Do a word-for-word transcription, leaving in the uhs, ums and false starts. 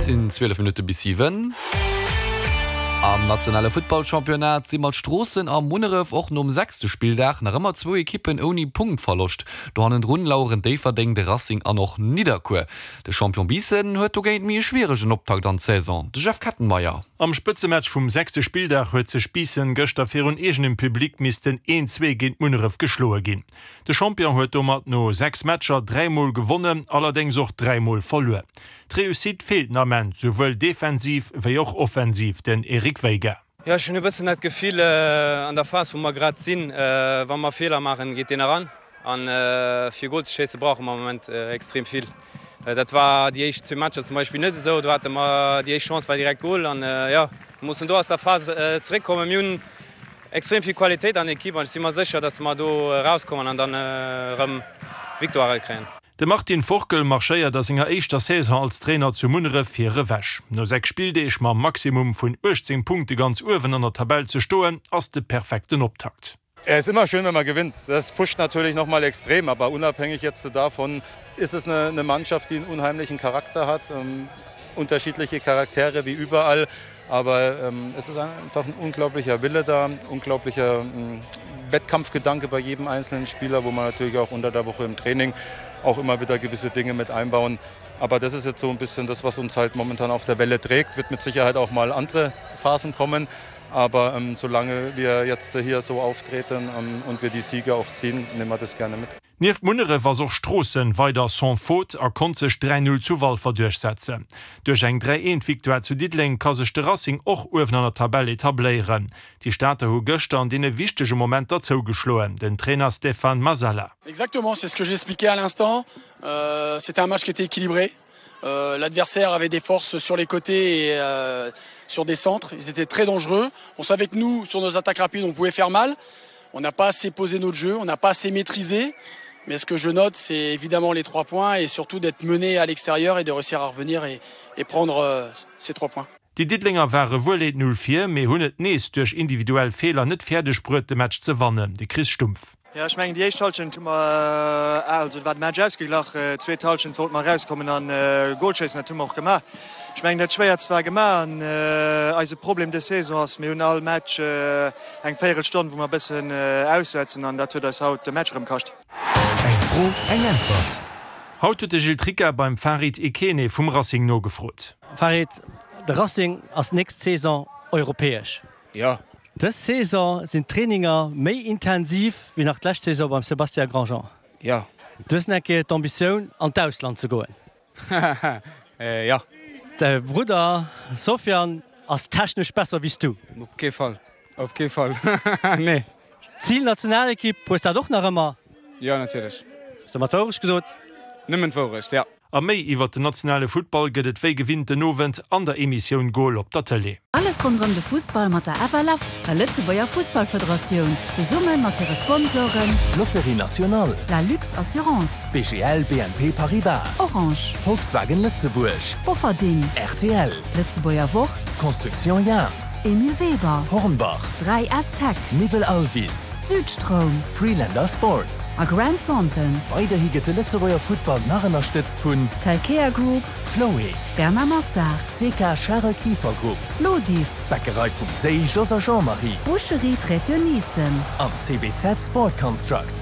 sinn zwielef Minutte bis siwen. Am nationale Futtballchampionnat si mat Stroossen a Munneref och nom sechste Spilldag nach ëmmer zwou Ekippen ouni Punktverloscht. Do hannendrun laueren Déifferdeng, de Racing an och Nidderkuer. De Champion Biissen huet dogéint méi e schwieregen Optakt an d'Saison. De Jeff Kettenmeyer. Am Spëtzematch vum sechste Spilldag huet sech Biissen gëschter virun eegenem Public missten een zwee géint Munneref geschloe ginn. De Champion huet domat no sechs Matcher dräi Mol gewonnen, allerdéngs och dräi Mol verluer. D'Reussite feelt den Ament, souwuel defensiv wéi och offensiv, den Eric Veiga. Jo, ech hunn e bëssen dat Gefill an der Phas wou mer grad sinn, wa mer Feeler maachen, geet deen eran. An fir Gol ze schéisse brauche mer am Moment extrem vill. Dat war déi éischt zwee Matcher zum Beispill net esou, do hate mer déi éischt Chance war direkt Gol. An jo, mir mussen do aus der Phas zeréckkommen. Mir hunn extrem vill Qualitéit an der Ekipp an ech si mer sécher, datt mer do erauskommen an dann erëm Victoirë kréien. De Martin Forkel marschéiert a senger éischter Saison als Trainer zu Munneref vir ewech. No sechs Spilldeeg mam Maximum vun uechtzéng Punkte ganz uewen an der Tabell ze stoen, ass de perfekten Optakt. Es ist immer schön, wenn man gewinnt. Das pusht natürlich noch mal extrem, aber unabhängig jetzt davon ist es eine, eine Mannschaft, die einen unheimlichen Charakter hat, ähm, unterschiedliche Charaktere wie überall, aber ähm, es ist einfach ein unglaublicher Wille da, unglaublicher ähm, Wettkampfgedanke bei jedem einzelnen Spieler, wo man natürlich auch unter der Woche im Training auch immer wieder gewisse Dinge mit einbauen. Aber das ist jetzt so ein bisschen das, was uns halt momentan auf der Welle trägt, wird mit Sicherheit auch mal andere Phasen kommen. Aber ähm, solange wir jetzt hier so auftreten ähm, und wir die Siege auch ziehen, nehmen wir das gerne mit. Nieft Munneref ass och Stroossen weider sans faute a konnt sech dräi Null zu Walfer duerchsetzen. Duerch eng dräi eent Victoire zu Diddeleng ka sech de Racing och uewen an der Tabell etabléieren. Déi Stater hu gëschter an deene wichtege Momenter zougeschloen, den Trainer Stéphane Masala. Exactement, c'est ce que j'expliquais à l'instant. Euh, c'était un match qui était équilibré. Euh, l'adversaire avait des forces sur les côtés et euh, sur des centres. Ils étaient très dangereux. On savait que nous, sur nos attaques rapides, on pouvait faire mal. On n'a pas assez posé notre jeu, on n'a pas assez maîtrisé. Mais ce que je note, c'est évidemment les trois points et surtout d'être mené à l'extérieur et de réussir à revenir et, et prendre euh, ces trois points. Déi Diddelenger ware wuel eent Null vir, mee hunn et nees duerch individuell Feeler net fäerdeg bruet de Match ze wannen, de Chris Stumpf. Jo, ech mengen déi éischt Hallschent hu mer, also war de Match ausgeglach, zweet Hallschent wollte mer erauskommen an Gol schéissen, dat hu mer och gemaach. Ech mengen dat Schwéierst war gemaach an eise Problem dës Saison ass, mir hunn all Match eng Véierelstonn wou mer e bëssen aussetzen an dat huet eis haut de Match erëm kascht. Eng Fro, eng Äntwert. Haut huet de Gilles Tricca beim Farid Ekene vum Racing nogefrot. Farid, de Racing ass nächst Saison europäesch. Jo. Dës Saison sinn d'Traininger méi intensiv wéi nach d'lescht Saison beim Sébastien Grandjean. Jo. Du hues nach eng Kéier d'Ambitioun an d'Ausland ze goen. Jo. Däi Brudder Sofiane ass technesch besser wéi s du. Op kee Fall, op kee Fall, nee. Zil Nationalekipp, hues dat och nach ëmmer? Jo, natierlech. Hues de mer d'Wourecht gesot? Nëmmen d'Wourecht, jo. A méi iwwert den nationale Futtball gëtt et wéi gewinnt den Owend an der Emissioun Goal op der Tëlee. Alles ronderëm de Fussball mat der F L F, der Lëtzebuerger Fussballfederatioun, zesumme mat hire Sponsoren. Lotterie Nationale. La Lux Assurance. B G L B N P Paribas. Orange. Volkswagen Lëtzebuerg. Bofferding. R T L. D'Lëtzebuerger Wort. Construction Jahns. Emile Weber. Hornbach. dräi S Tech. Miwwel Alvis. Südstroum. Freelander Sports. A Grant Thornton. Weiderhi gëtt de Lëtzebuerger Futtball nach ënnerstëtzt vun Telkea Group. Floé. Bernard Massard. C K Charel Kieffer Group. Lodis. Bäckerei vum Séi Jos a Jean-Marie. Boucherie Traiteur Nissen. An C B Z Sport Construct.